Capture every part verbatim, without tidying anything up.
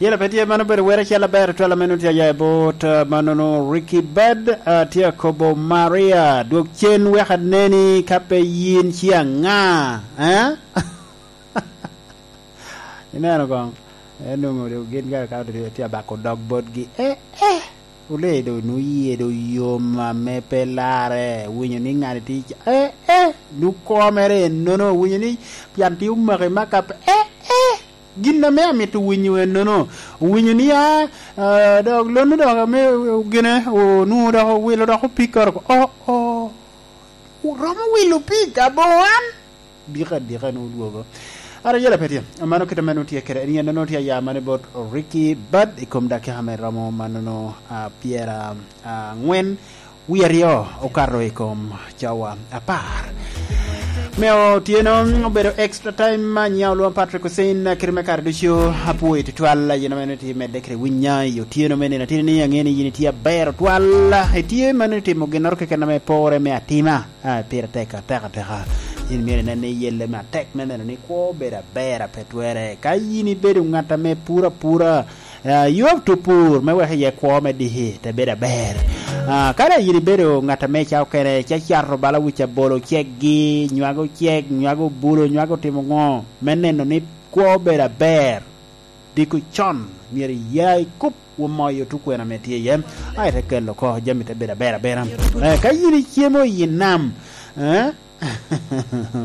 Yela pe tye, mano bedo were acel aber twal ame nongo tye aya i bot, ah, manono Ricky Bad, ah, tye akobo Maria, dwog cen wek aneni ka pe yin ci aŋa, eh? Ineno koŋ? En onwoŋo gin ka, ka tye abako dog botgi, eh, eh, olee do nwoŋo yie do yom ame pe larre, winyo ni ŋat tye ca, eh, eh, nwoŋo koo mere ennono, winyo ni pian tye omaki maka pe, eh, eh. Gin ame amito winyo ennono, owinyo ni, a, a, dok lonno dok ame ogene, onwoŋo dok owilo dok opikere oko. Oh, oh. Romo wilo pig aboŋo an? Dika, dika nwoŋo odwogo. Ara yela pe tye. Mano kit ame nwoŋo tye kede. En yen nwoŋo tye aya mano bot Ricky Bad i kom dakika ame romo manono, a, pyera, a, angwen. Wie aryo okato i kom cawa apar. Me otyeno obedo extra time, nya olwoŋo Patrick Hussein, kite me kare ducu apwoyo tutwal, yin ame tye medde kede winya i otyeno me nino atini ni, aŋeo ni yin itye aber otwal, itye mano itimo ginnoro keken ame porre me atima, a, pire tek atek ateka. Yin myero inen ni iyelle me atek me neno ni kwo obedo aber a pe twere. Ka yin ibedo ŋat ame puro apura, Ah, you have to pur, me wek iye kwo me diki te bedo aber. Ah, ka daŋ yin ibedo ŋat ame ca okene, ca cato bala wic abolo ceggi, nywago cek, nywago bulo, nywago timo ŋo, me neno ni kwo obedo aber, diko con, myero iya i kup, womoyo tukwena ame tye iye, a ite kelo oko, jami te bedo aber abera. Eh, ka yin icemo i nam, eh,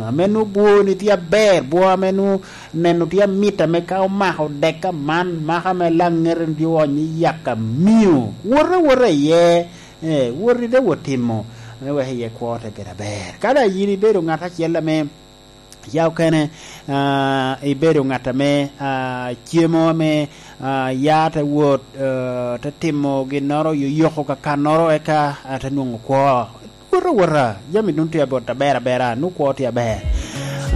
ame nwoŋo bwoni tye aber, bwo ame nwoŋo neno tye amit, ame ka omako dek aman, maka ame laŋete tye oonyo i yaka mio, wot awota iye, eh, wot ite wot timo, me wek iye kwo te bedo aber. Ka daŋ yin ibedo ŋat acel ame ca okene, ah, ibedo ŋat ame, ah, cemo ame, ah, ya te wot, eh, te timo ginnoro, yoyoko kakannoro, eka, ah, te nwoŋo kwo. Wot awota, jami dun tye abot aber abera, nu kwo tye aber.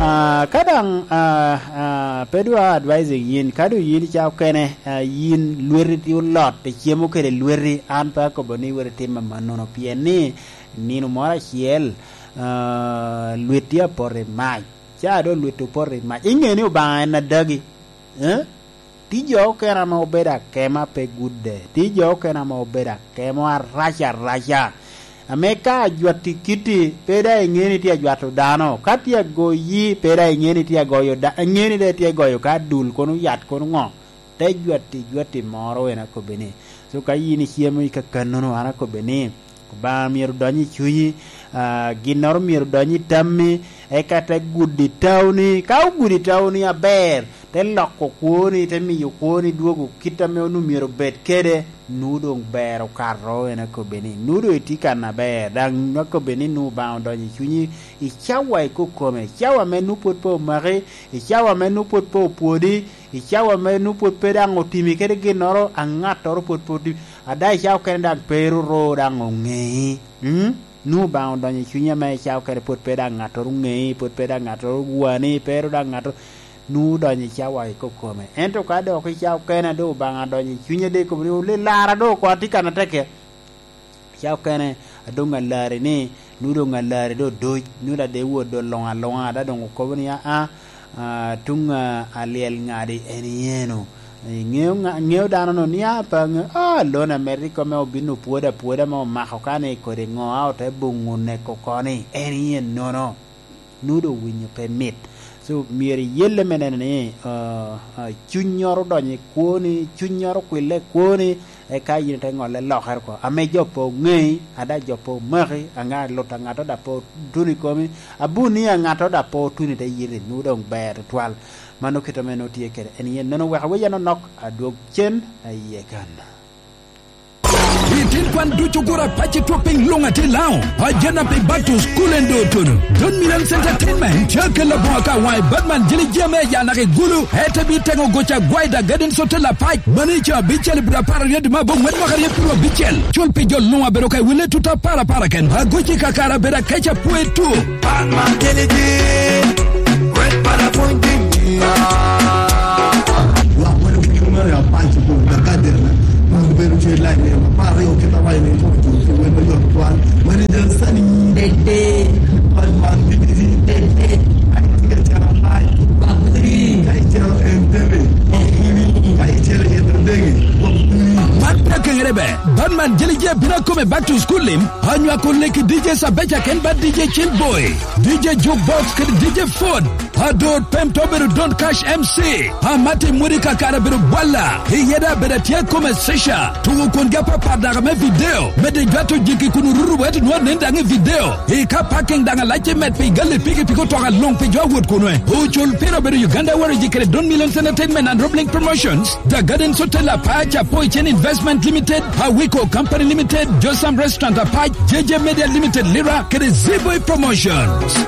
Ah, ka daŋ, ah, ah, pe dwa advising yin, ka doŋ yin ica okene, ah, yin lweti tye olot, icemo kede lweti, an pe akobo ni wot itim amannono, pien ni nino moro acel, ah, lweti apoto i mac, ca doŋ lweti opoto i mac, iŋe ni Obaŋa en adagi, eh? Tye jo okene ame obedo akema pe gudde. Tye jo okene ame obedo akemo arac araca. Ame ka ajwatti kitti, pe daŋ iŋeo ni tye ajwato dano. Ka tye agoyi, pe daŋ iŋeo ni tye agoyo da-, iŋeo ni daŋ tye agoyo ka adul kono yat kono ŋo. Te jwatti jwatti moro en akobbi ni. So ka yin icemo i kakannono, an akobbi ni, Obaŋa myero odony i cunyi, ah, ginnoro myero odony i tammi, eka te gudo i tauni. Ka ogudo i tauni aber, te loko kwoni, te miyo kwoni dwogo kit ame onwoŋo myero obed kede, nwoŋo doŋ ber okato, en akobbe ni, nwoŋo doŋ itye kan aber, daŋ akobbe ni nwoŋo Obaŋa odonyo i cunyi, i cawa ikokome, cawa ame nwoŋo pwod pe omaki, i cawa ame nwoŋo pwod pe opwodi, i cawa ame nwoŋo pwod pe daŋ otimi kede ginnoro, a ŋattoro pwod pe otimi, ada i cawa okene daŋ pe ru ru daŋ oŋei. Mm? Nwoŋo Obaŋa odonyo i cunyi ame i cawa okene pwod pe daŋ ŋattoro oŋei, pwod pe daŋ ŋattoro ogwani, pe ru daŋ ŋattoro, nwoŋo odonyo i cawa ikokome. Ento ka dok i cawa okene a doŋ Obaŋa odonyo i cunyi, a doŋ ikobo ni, "Oli lara doŋ oko atye kan atekke." Ca okene, a doŋ alari ni, nwoŋo doŋ alari doŋ odoc, nwoŋo dade wot doŋ luŋ aluŋa, ada doŋ okobo ni, "Aa, aa, tuŋ, aa, alyel ŋadi en iyeno." Iŋeo ŋa-, ŋeo dano-nu ni, "Aa, pe aŋeo, aa, lon Amerika me obin opwodo apwoda me omako kani kodi ŋo, a ote boŋo neko koni, en iye nono." Nwoŋo doŋ winyo pe mit. So, myero iyelle me neno ni, ah, ah, cunnyoro odonyo i kwoni, cunnyoro okwille i kwoni, eka yin ite ŋolle lokere oko. Ame jo pe oŋei, ada jo pe omaki, aŋa lut a ŋato da pe otuno i komi, abuni a ŋato da pe otuno i te yiti, nwoŋo doŋ ber tutwal. Mano kit ame nwoŋo tye kede. En yen nono wek awec anonok, adwog cen, aye kan. Itin kwan ducu gura paci twop piny luŋ ati lao. Ajana pi Batus kulen do tono. Don Millions Entertainment tye kelo boŋo ka waŋ i Batman jili jeme ya naki gulu. Ete bi teŋo goca gwai da Garden Hotel Apac. Mani ca bi cel bira para riyet ma bo ŋwen mwaka riyet piro abicel. Cul pi jo luŋ abedo ka iwile tuta para para ken. Agoci kakara bira keca pwe tu. Batman jili ji. Wet para pwony jili. Wa wano kiki mara ya panci ko da Garden. Mano bedo tye lain ne ma pare o keta wa ne to to to wen ma yot kwan. Mani da sani. Dede. Kwan man dede. Dede. Ai tiga cara hai. Bakri. Kai cara entebe. Bakri. Kai cara yedra. Batman Jelije bino akome back to school lim, anywako leki D J Sabeca ken ba D J Chill Boy, D J Jukebox kede D J Ford. Adot pem to bedo Don Cash M C. Amati Mwiri kakare bedo bwalla. Iyeda bedo atye akome sesha. Tugo kun gi apapat daga me video. Mede jwato jiki kun urutu wet nwa nen daŋ i video. I ka parking daŋ alac i met pi gali piki piki otoka luŋ pi jo awot kunwe. Ocul pira bedo Uganda Warriors kede Don Millions Entertainment and Roblink Promotions. The Gardens Hotel Apac, Apoy Chen Investment Limited, Awiko Company Limited, Josam Restaurant Apac, J J Media Limited Lira, kede Z-Boy Promotions.